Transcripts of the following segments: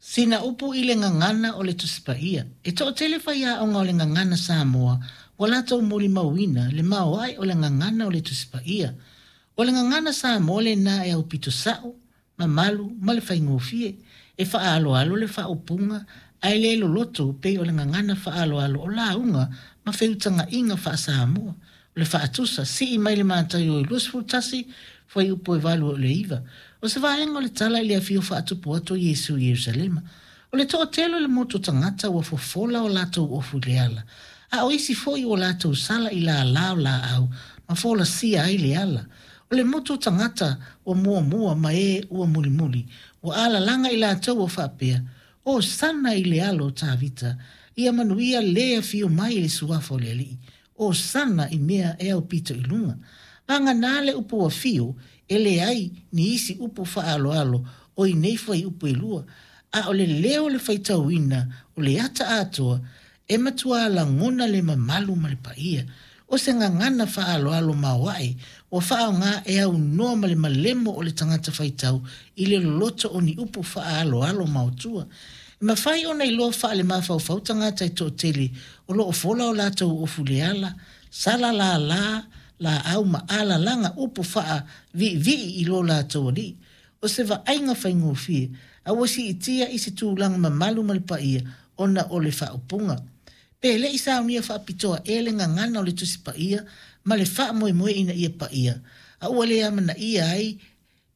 Sina upu i le gagana o le Tusi Paia. E toatele faiaoga o le gagana Samoa ua latou molimauina le maoae o le gagana o le Tusi Paia. O le gagana Samoa lena e aupito sao, mamalu ma le faigofie. E faaaloalo le faaupuga ae le loloto pei o le gagana faaaloalo o lauga ma feutagaiga faa-Samoa. O le faatusa, sii mai le Mataio 21, fuaiupu e 8 e oo i le 9. O se vaega o le tala i le afio faatupu atu o Iesu i Ierusalema. O le toatele o le motu o tagata ua fofola o latou ofu i le ala, a o isi foi ua latou sala i lālā o lāʻau ma folasia ai le ala. O le motu o tagata ua muamua ma e ua mulimuli, ua alalaga i latou ua faapea, Hosana i le alo o Tavita, ia manuia le afio mai i le suafa o le Alii. Hosana i mea e aupito i luga. Vagana le upu afio, e leai ni isi upu faaaloalo o i nei fuaiupu e lua, a o le leo o le faitauina o le ata atoa, e matua lagona le mamalu ma le paia. O se gagana faaaloalo maoae ua faaaoga e aunoa ma le malemo o le tagata faitau i le loloto o ni upu faaaloalo maotua. E mafai ona iloa faalemafaufau tagata e toatele o lo o fola o latou ofu i le ala, sala lālā lāʻau ma alalaga upu faaviivii i lo latou alii. O se vaaiga faigofie, a ua siitia i se tulaga mamalu ma le paia ona o le faaupuga. Pe le i saunia faapitoa ea le gagana o le Tusi Paia ma le faamoemoe ina ia paia, a ua le amanaia ai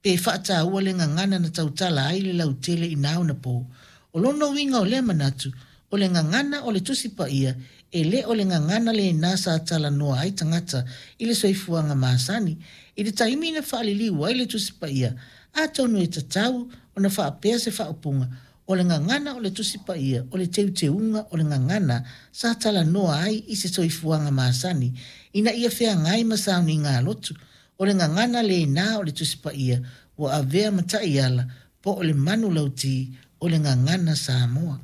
pe faataua le gagana na tautala ai le lautele i na ona po. O lona uiga o lea manatu, o le gagana o le Tusi Paia e le o le gagana lena sa talanoa ai tagata i le soifuaga masani. I le taimi na faaliliu ai le Tusi Paia, atonu e tatau ona faapea se faaupuga, o le gagana o le Tusi Paia o le teuteuga o le gagana sa talanoa ai i se soifuaga masani ina ia feagai ma sauniga a lotu. O le gagana lena o le Tusi Paia ua avea ma taiala po o le manulauti o le gagana Samoa.